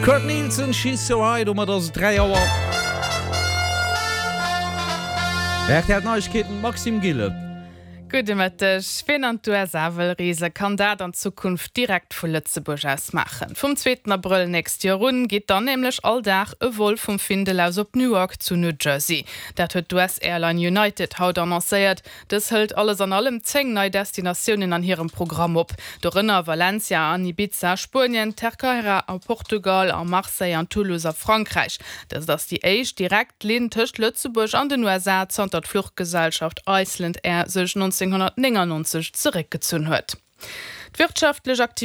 Kurt Nilsen, She's So High, domat ass et 3 Auer. Rtl Neiegkeeten, Maxime Gillen. Gudde Mëtteg. Wien an d'USA wëll reese kann dat an Zukunft direkt vu Lëtzebuerg aus maachen. Vum zweeten Abrëll nächst Joer un geet dann nämlech all Dag e Vol vum Findel aus op Newark zu New Jersey. Dat huet d'US-Airline United haut annoncéiert. Dës hëlt alles an allem 10 nei Destinatiounen an hirem Programm op, dorënner Valencia an Ibiza a Spuenien, Terceira a Portugal a Marseille an Toulouse a Frankräich. Dëst ass déi éischt direkt Linn tëscht Lëtzebuerg an den USA zanter d'Fluchgesellschaft Iceland Air sech 1999 zeréckgezunn huet. D'wirtschaftlech Aktivitéit.